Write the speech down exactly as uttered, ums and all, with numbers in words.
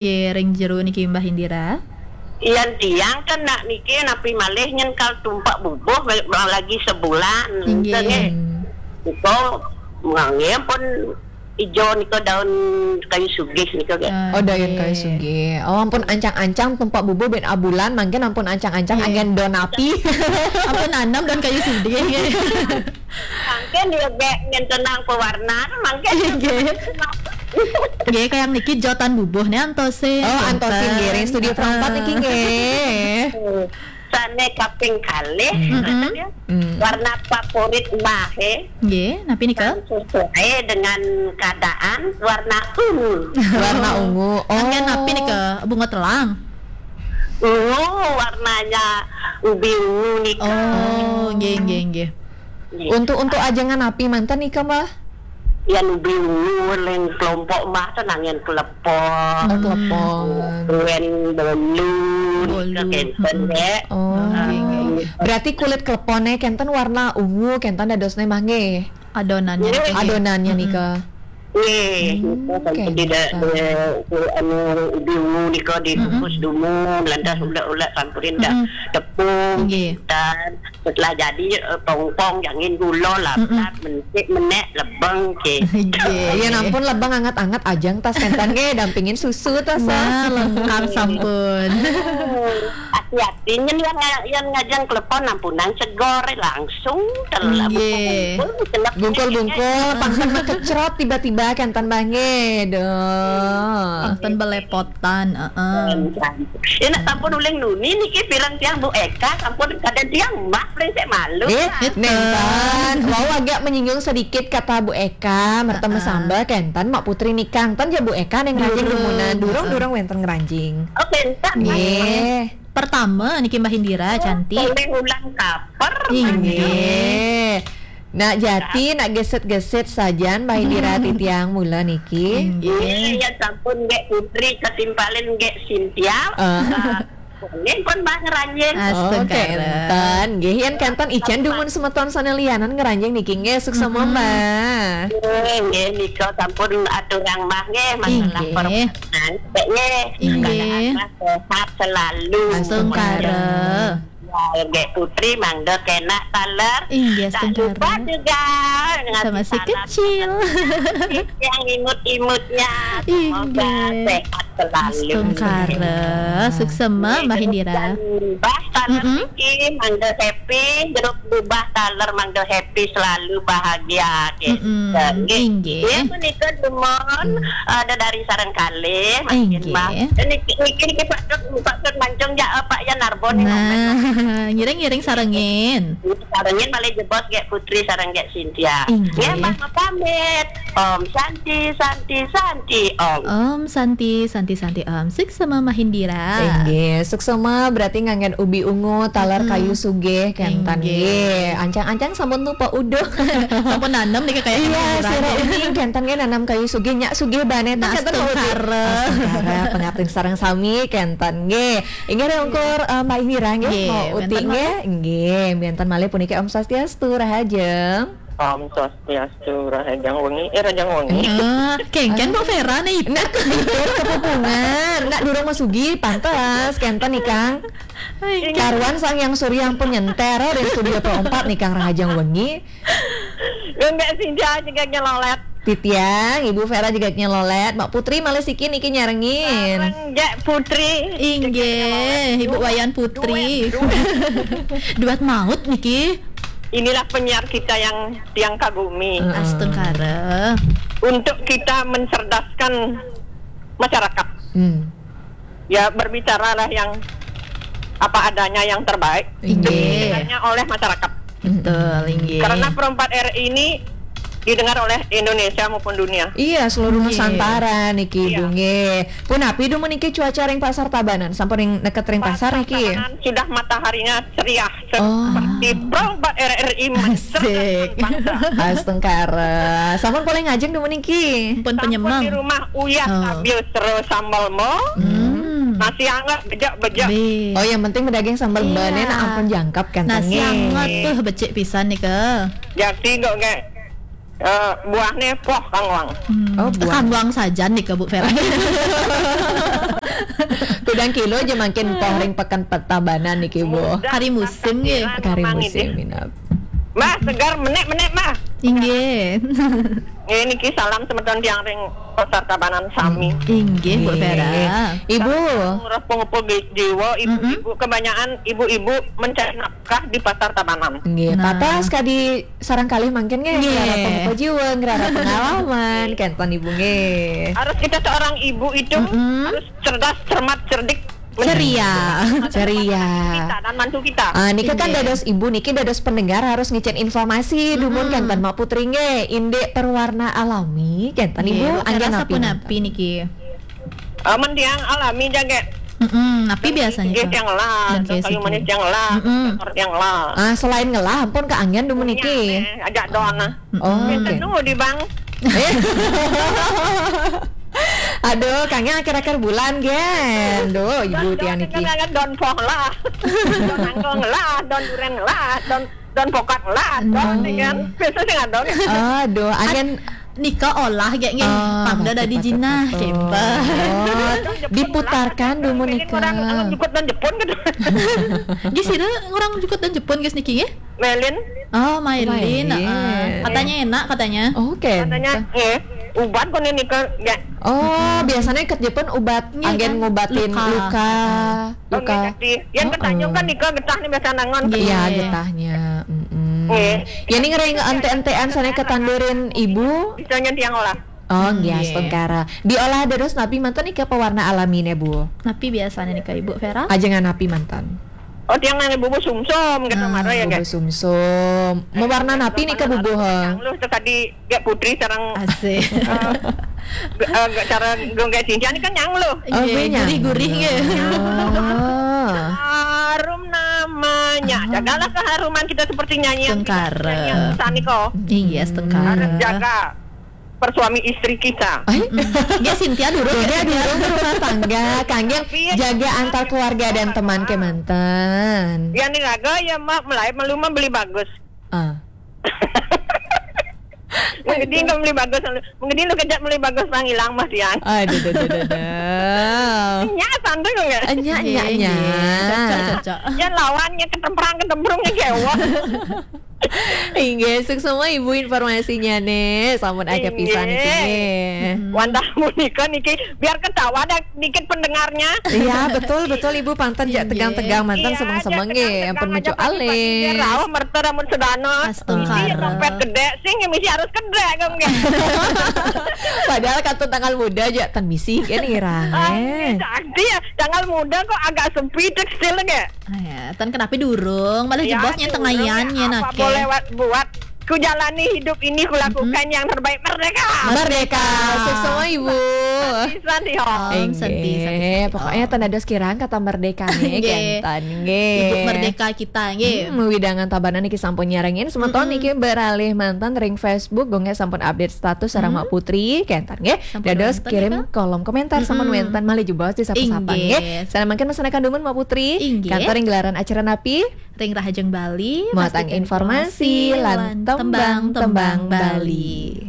Nggih, ring jero niki Mbah Indira. Yan tiang kan nak niki napi malih nyen kal tumpek bubuh lagi sebulan. Nggih. Nggih. Nika ngangge pun ijo nika daun kayu sugih nika, nggih. Ah, oh, daun kayu sugih. Oh, ampun ancang-ancang tumpek bubuh ben abulan, mangkin ampun ancang-ancang anggen daun api. Ampun nanem daun kayu sugih, nggih. Mangkin dia gek ngentenang pewarna, mangkin. Nggih. Nggih, kayang niki jotan bubuh nih antosin. Oh, antosin nggih, ring studio perempat niki nggih. Sane kaping kalih, hmm, warna favorit Mbah, eh. Nggih, napi nika? Dan sesuai dengan keadaan, warna ungu. Warna ungu. Oh. Anggen napi nika? Bunga telang. Ungu, warnanya ubi ungu nika. Oh, nggih, nggih, nggih. Nggih. Untuk, untuk ajengan napi manten nika, Mbah? Yan ubi ungu ring kelompok Mbah ten anggen klepon. Oh, klepon. Wen bolu nika kenten, nggih. Oh, nggih, nggih. Berarti kulit klepone kenten warna ungu, kenten dadosne Mbah nggih. Adonannya nika. Adonannya nika. Nggih, nika sampun tidak, eh, anu, ubi ungu nika dikukus dumun, lantas ulek-ulek sampurin dak tepung, dan setelah jadi, eh, pongpong, jangin gula, laptap, mencik, menek, lebeng, nggih. Nggih, ya ampun, lebeng anget-anget ajang tas kenten nggih, dampingin susu tas. Nah, lengkap sampun. Hati-hati nyen yang nga-, yang ngajang klepon ampunan segor langsung. Nggih. Bungkul-bungkul, pangten makecrot tiba-tiba kenten Mbah nggih. Duh. Pangten belepotan, heeh. Enak sampun uling nuni niki pireng tiang Bu Eka sampun kadang tiang Mbah paling sik malu. Eh, nenten. Wau agak menyinggung sedikit kata Bu Eka, merteme sambel kenten Mak Putri nikang. Ten ya Bu Eka ning rajin dumunan. Durung, durung wenten ngranjing. Oh, kenten. Nggih. Pertama niki Mbah Indira cantik. Oleh ulang kaper. Inggih. Nak jati, nak gesit-gesit sajan Mbah Indira titiang mula niki. Inggih. Nggih, ya sampun nggih Putri katimpalin nggih Sintia. Ah. Nggih pun Mbah ngranjing. Oh, astungkara. Kenten. Nggih, yen kenten ican dumun semeton sane lianan ngranjing niki nggih suksema Mbah. Nggih, nggih nika sampun aturang Mbah nggih masalah permainan. Nggih. Inggih. Sehat selalu. Astungkara. Ya, Gek Putri, mangda kenak taler. Inggih, astungkara. Tak lupa juga dengan sama si kecil. Yang imut-imutnya. Semoga sehat selalu. Astungkara. Suksema, Mbah Indira. Mbah taler niki, mangda happy. Jeruk berubah taler, mangda happy selalu, bahagia. Nggih. Inggih. Nggih, menika dumun, eh, dedari sareng kalih, mangkin, Mbah. Eh, niki, niki, niki Pak Dut, Pak Dut mancung jak, eh, Pak Yan Narbon nih, nah, ngiring-ngiring sarengin. Sarengin malih jebos Gek Putri sareng Gek Sintia. Inggih. Nggih, Mbah, pamit. Om Santi, Santi, Santi, Om. Om Santi, Santi, Santi, Om. Suksema Mbah Indira. Inggih, suksema berarti nganggen ubi ungu, taler kayu sugih, kenten nggih. Ancang-ancang sampun tumpek uduh. Sampun nanem niki kaya iya, sira uning kenten nggih nanem kayu sugih, nyak sugih bane. Nah, kenten astungkara. Astungkara, pangaptin sareng sami kenten nggih. Inggih ringkur, eh, Mbah Indira nggih, nggih, mau uti nggih. Nggih, wenten malih puniki Om Swastiastu, rahajeng. Om Swastiastu, rahajeng wengi, eh, rahajeng wengi. Eh, kengken Bu Vera nih. Nak kepupungan, nak durung masugi, pantes, kenten ikang. Karuan Sang Hyang Surya ampun nyenter, oh, dari studio Pro empat nih, Kang, rahajeng wengi. Enggak sih, dia juga nyelolet. Titiang, Ibu Vera juga nyelolet. Mak Putri malih siki niki nyarengin. Sareng Gek Putri. Inggih, Ibu Wayan Putri. Duet, duet. Duet maut niki. Inilah penyiar kita yang tiang kagumi. Heeh. Astungkara. Untuk kita mencerdaskan masyarakat. Hmm. Ya, berbicaralah yang apa adanya, yang terbaik. Inggih. Didengarnya oleh masyarakat. Betul, inggih. Karena Pro empat R I ini didengar oleh Indonesia maupun dunia. Iya, seluruh Nusantara niki, iya. Ibu, nggih. Punapi dumun niki cuaca ring Pasar Tabanan, sampun ring neket ring pasar niki? Pasar Tabanan sudah mataharinya ceria. Seperti Pro empat R R I mencerdaskan bangsa. Asik. Astungkara. Sampun polih ngajeng dumun niki? Pun penyemang. Sampun di rumah uyah sambil sero sambal mo. Hmm. Nasi anget, bejek-bejek. Oh, yang penting medaging sambal bane nak ampun jangkep kenten nggih. Nasi anget tuh becik pisan nika. Jati kok nggih. Eh, buahnya poh kangwang. Hmm. Oh, buah. Kangwang saja nih ke Bu Vera. Kudang kilo aja makin poh ring Pekan Tabanan niki, Bu. Sudah Hari musim, nggih. takbiran Kari memang musim ini. Minab. Mbah, segar menek-menek, Mbah. Inggih. Ini ki salam semeton tiang ring Pasar Tabanan sami. Inggih, Bu Nggih. Vera. Ibu. Ngurus pengupa jiwa, ibu-ibu, kebanyakan ibu-ibu mencari nafkah di Pasar Tabanan. Nggih, Nah. Patah sekadi sarang kalih mangkin nggih, Nggih. Ngrarap pengupa jiwa, ngrarap pengalaman, kenten Ibu nggih. Harus kita seorang ibu itu Mm-mm. harus cerdas, cermat, cerdik. Ceria. Ceria. Kita dan mantu kita. Ah, nika kan Nggih. Dados ibu niki dados pendengar harus ngicen informasi dumun kenten Mak Putri nggih. Indik perwarna alami kenten Ibu Nggih, anggen rasa napi pun mantun? Napi niki. Eh, men tiang alami jaga. Mm-mm, napi biasanya Nggih Kak? Tiang lah, Dan kayu kayak manis siki. Tiang lah, Mm-mm. Tiang lah. Ah, selain ngelah pun keanggen dumun niki. Ajak don lah. Oh, Biasa oke. nu di bang. Aduh, kangen akhir-akhir bulan gen. Duh, Ibu tiang niki. Kan don poh lah. Don angkong lah, don duren lah, don don pokak lah, don Nggih. Kan. Biasa sih nggak don. Aduh, anggen Nika olah kayak nggih. Ah, Pangda betul, dari betul, jinah, betul. kempa. Oh, diputarkan dumun Orang nika. orang jukut dan Jepun gitu. Gis itu orang jukut dan Jepun gis niki nggih? Melin. Oh, Mailin. Mailin. Heeh. Katanya enak katanya. Oke. Katanya, eh, ubat kok nih nika, ya. Oh, biasanya ikat Jepun ubat Nggih, anggen kan? Ngubatin Luka. luka, luka. Yang Heeh. Yang ketanjung kan nika getah nih biasa nangon. Nggih. Iya, getahnya. Mm-mm. Nggih. Ya ini ngering ente-entean sana ketandurin ibu. Bisanya tiang lah. Oh, Hmm, nggih, nggih. Tengkara. Diolah dados napi mantun nika pewarna alami ne, Bu? Napi biasanya nih Kak Ibu Vera? Ajengan napi mantun? Oh, tiang nanya bubu sumsum gitu Ah, marah ya, bubu guys. Sumsum. Mewarna napi nika bubuh? Yang lu tadi ya putri sarang Asik. eh, ge- eh, ge- cara gonggai cincin kan yang lu. Oh, Iya, benya. Gurih-gurih ya. Oh. Harum namanya. Jagalah keharuman kita seperti nyanyian Tengkara. Nyanyian sani kok. Iya, setengkara. Jaga persuami istri kita. Ay, Dia Cynthia dulu Dia ya. dulu berumah tangga, kangge Tapi ya, jaga jangan antar keluarga dan teman kemanten. Ya nih raga ya mak mulai melu mah beli bagus. Ah. Mengeding kau beli bagus, mengeding lu kejap beli bagus nang hilang mas yang. Aduh, aduh, aduh, aduh, aduh. Nya santai kok nggak? Enya, enya, Iya, enya. iya. Cocok, cocok. Ya lawannya ketemprang ketemprung ya kewak. Inggih, suksma Ibu informasinya nih. Sampun aja pisan niki nggih. Wantah menika niki biar ketawa dan dikit pendengarnya. Iya, betul, betul, Ibu, pantun jak Inggih. tegang-tegang mantan Iya, semeng-semeng aja nggih, tegang-tegang ampun aja, menuju pagi-pagi alis. Rauh merta rambut sedana. Astungkara. Iya, dompet gede sing ya mesti harus gede kan nggih. Padahal kantun tanggal muda aja tan misi kan irang. Ah, Eh. Sakti ya, tanggal muda kok agak sepi tekstil nggih. Ah, ya, tan kenapi durung, malah Ya, jebosnya durung tengayan ya, ya apa nake. Boleh buat, buat. Ku jalani hidup ini, ku lakukan yang terbaik. Merdeka. Merdeka, suksma Ibu. Pisan sih, ho. Om, santi, santi, Inggih, santi. Pokoknya tan dados kirang kata merdeka nih, Nggih. kenten nggih. Ibu merdeka kita nggih. Hmm, widangan Tabanan niki sampun nyarengin semeton niki beralih mantan ring Facebook, gue nggih sampun update status sareng Mak Putri, kenten nggih. Sampun Dados wonten kirim nika? Kolom komentar sampun wenten malih jebos di sapa-sapa Inggih. nggih. Sampun mangkin masanekan dumun Mak Putri. Inggih. Kantor ring gelaran acara napi? Ring Rahajeng Bali, Muatan pastikan informasi lan tembang-tembang Bali.